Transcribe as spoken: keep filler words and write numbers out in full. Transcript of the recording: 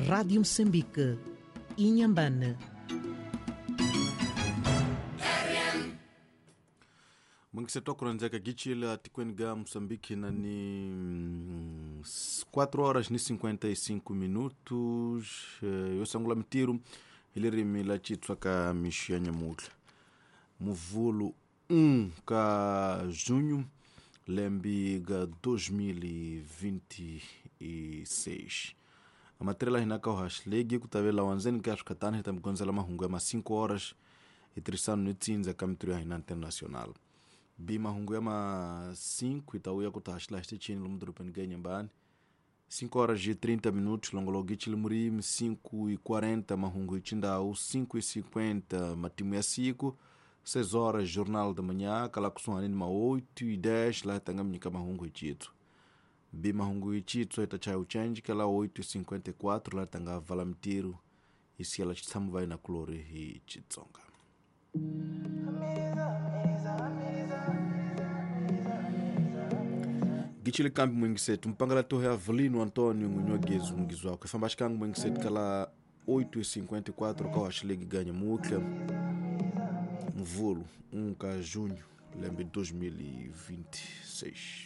Rádio Moçambique, Inhambane. Mwengiseto kuranzeka gichila tikweni ga Moçambique na ni quatro horas ni cinquenta e cinco minutos. Eu sangula mitiru ilirimi la chitswa ka mixia nyamutla muvulu um ka junho lembi ga dois mil e vinte e seis. A matéria hina ka hashlegi kutavela wanzeni ka shukatani hitamgonzela mahungu ya ma cinco horas e trisano ni tsinza ka mitru ya hina internacional. Bi mahungu ya ma cinco itauya kutahashla chini lumdurupeni ga Inhambane. cinco horas e trinta minutos longologichi limurimi, cinco e quarenta mahungu ichindau, cinco e cinquenta matimu ya siku, seis horas jornal da manhã, kala kusuhanini ma oito e dez lá tangaminika mahungu ichitsu. Bi mahungu ichitsu itachai uchenji kala oito e cinquenta e quatro lá tanga valamitiru isi ela chitsamu vai na kulori hi chitsonga. Gichile kambi mwingisetu mpangala tohe Avelino Antônio Ngunhogezu Ngizwako ifambashikangu mwingisetu kala oito e cinquenta e quatro ka washilegi ganha mutla mvulu um ka junho lembe dois mil e vinte e seis.